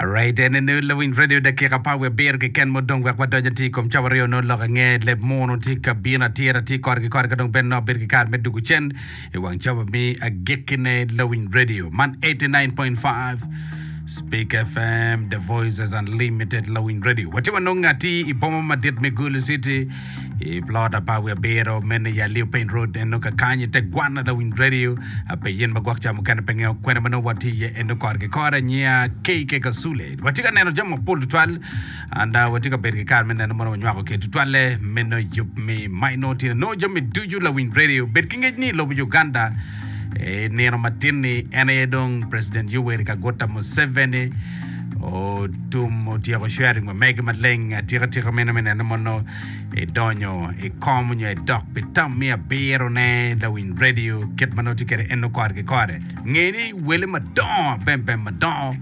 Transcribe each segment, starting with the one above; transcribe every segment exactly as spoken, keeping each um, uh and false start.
Alright, en ene Lawiny Radio dakika apar wiye abiro keken ma odong wek wadony atir i kom cawa aryo nongo lok ange leb munu tye ka bino atir atir kore ki kore ka dong bene nongo abedo ki kare me dugo cen i wang cawa me agikkine Lawiny Radio man eighty nine point five Speak F M The Voices Unlimited Lawiny Radio watye wanongo atir i boma madit me Gulu City i plot apar wiye abiro meno i Aliu Paint Road eno kakany i te gwana Lawiny Radio pe yen ma gwok ca mukene pe ngeyo kwene ma nongo watye iye eno kore ki kore nyiya K K Kasule watye ka neno jami mapol tutwal and uh, watye ka bedo ki kare me neno mono wanywako ki tutwalle meno yub mi ma inongo tye nongo jami ducu Lawiny Radio bed ki ngec ni i lobo Uganda i nino matin-ni en aye dong President Yoweri Kaguta Museveni otum otyeko swearing wa mege maleng atika tika meno me neno mono idonyo i kom nyo idok pi tam me abiro ne Lawiny Radio kit ma nongo tye kwede eno kore ki kore nge ni wele madongo abembem madongo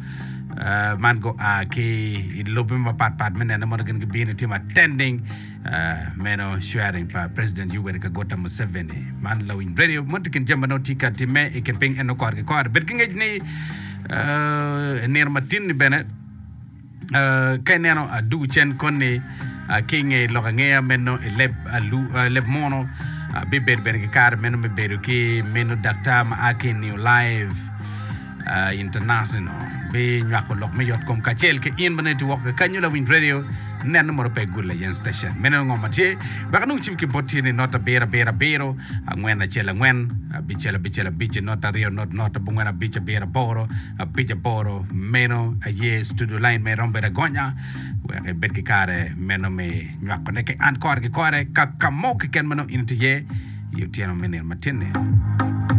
uh, man gua ki i lobe mapat pat me neno mono gin gibino timo attending uh, meno swearing pa President Yoweri Kaguta Museveni man Lawiny Radio mo tye kin jami ma nongo tye ka timme i kin piny eno kore ki kore bed ki ngec ni uh, nino matin ni bene uh, ka ineno adugu cen koni uh, ki inge lok angeya meno i leb alu, uh, leb muno uh, bibedo bene ki kare meno me bedo ki meno daktar ma a ki i New Life uh, International binywako lok me yot kom kacel ki in ma nongo itye woko kakanyo Lawiny Radio neno mono pe gul layen station meno ngo ma tye wek anong cim ki bot tye ni not abiro abiro abiro angwen acel angwen abicel abicel abic not aryo not not abongwen abic abiro aboro abic aboro meno aye studio line me iromo bedo agonya wek ibed ki kare meno me nywakone ki an kore ki kore ka ka mo keken ma nongo in itye iye i otyeno me nino matin-ni.